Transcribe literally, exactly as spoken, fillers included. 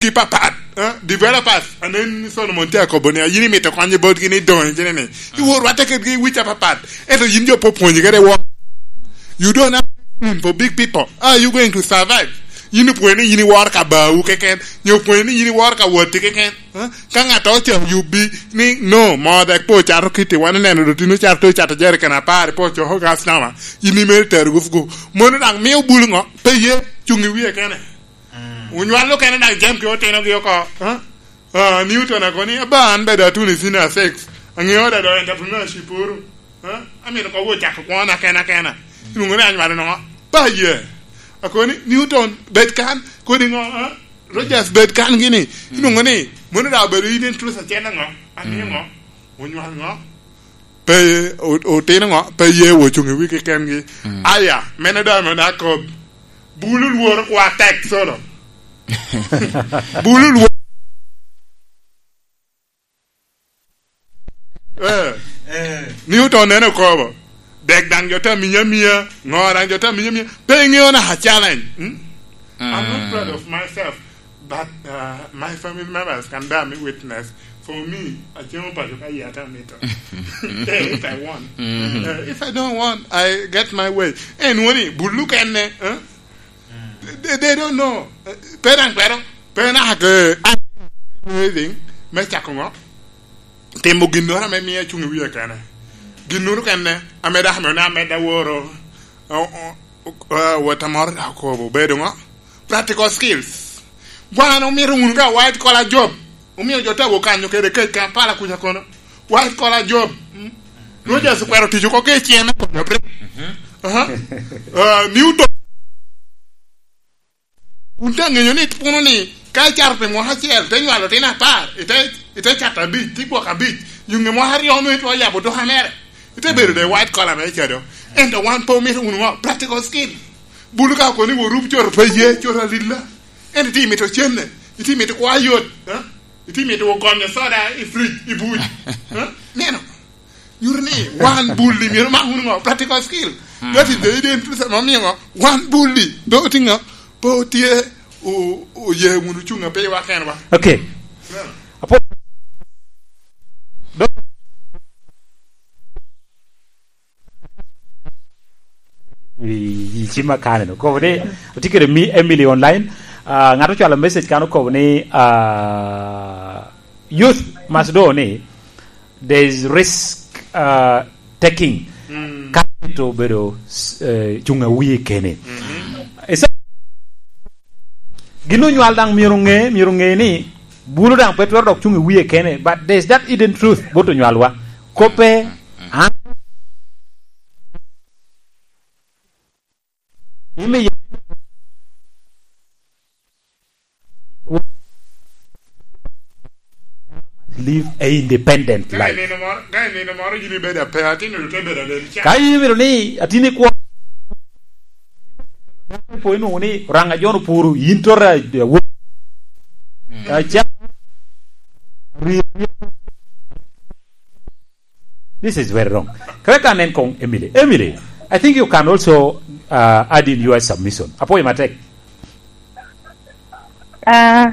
ki papat, eh? Developers, anen ni Solomon tye akobo ni, yin imito konye botgi ni doŋ ikene ni. Iwor rwatte kedgi i wic apapat. Ento yin jo pe opwonyi kede woro. You don't have room for big people. How are you going to survive? Yin opwonyo ni yin iworo ka bawu keken, nyo opwonyo ni yin iworo ka watti keken. Eh? Ka ŋat ocako yubbi ni, "No, mo dek pe ocato kitti, wan oneno dotino cato, ocato jerican apar, pe ocoko gas nama, yin imito tero gufugu." Mono daŋ mio bulu ŋo? Pe ye, cuŋ i wie kene. Onywalo kene daŋ jam ki otinogi oko. Ha? Ah, Newton akoni, "Aba, an bed atuno i senior six. Aŋeo da do entrepreneurship oro. Ha? Amito kobo ocako kwona kena kena." Ilwoŋo ni anywalo noŋo? Ba ye. Akoni, "Newton, bed kan." Kodi ŋo? Ha? "Rogers, bed kan gini." Ilwoŋo ni, "Mono da obedo in interest acel aŋo? Amio ŋo? Onywal ŋo?" Pe, o-, otino ŋo? Pe ye wo cuŋ i wigi kengi. Aya, mene da mene akob. Bulu lworo kwa tek solo. Bulu lworo. Eh. Eh. Newton nene okobo. Dek daŋ jo te miya miya, ŋo daŋ jo te miya miya. Pe iŋeo na a challenge. Hmm? I'm not proud of myself, but, uh, my family members can bear me witness. For me, acemo paco ka yata mito. Eh, if I want. Eh, if I don't want, I get my way. Eh, nwoni, bulu kene, eh? They, they don't know. Eh, pe daŋ kwero, pe naka ke, anything, me cako ŋo? Timo ginnoro ame mio acuŋ i wie kene. Ginnoro kene, ame dako ame amedda woro, o, o, o, wot amoro dok okobo, obedo ŋo? Practical skills. Wan omito wunu ka white collar job. Omio jo te wo kanyo kede kec Kampala kuca kono. White collar job. Mm. Rogers okwero tic oko ki icem me konyo piny. Aha. Ah, Newton. Wun te ŋeyo ni puno ni ka icato pi mwaka acel, te nywalo otino apar, ite, ite cato abic, te gwoko abic, yuŋe mwaka aryo onwoŋo itwero yabo duka mere. Ite bedo de white collar me cado. Ento wan pe omito wunu ŋo? Practical skill. Bulu ka okoni wo rup coro pe ye, coro alila. Ento ite mito cenne, ite mito kwa yot, eh? Ite mito wo gonyo soda i fridge, i buc. Eh? Neno. Nyuto ni wan bulli myero mak wunu ŋo? Practical skill. That is the hidden truth ame omiyo ŋo? Wan bulli. Pe otye ŋo? Pe otye o-, oye wunu cuŋ a pe wa kenwa. Okay. Yeah. Apo-, i, i cim akane no. Kobo ni, otye kede mi Emily online. Ah, ŋat ocwalo message kan okobo ni, ah, youth must know ni there is risk, uh, taking. Mm. Ka to obedo, eh, cuŋ a wie kene. Mm-hmm. Esa-, gin onywal daŋ myero ŋe, myero ŋe ni bulu daŋ pe twero dok cuŋ i wie kene, but there's that hidden truth bot onywalwa. Kope, an Imi ya-, live a independent life. Ka i nino moro, ka i nino moro yin ibedo ape, atin ote bedo aden ca. Ka in imito ni atin ikwo, po inwoŋo ni Oraŋa John opuro, yin tota, eh, wo-, mm, eh, ca-, ri-, ri-, This is very wrong. Kaka ka nen kong Emily. Emily, I think you can also, uh, add in your submission. Apoyo matek. Ah,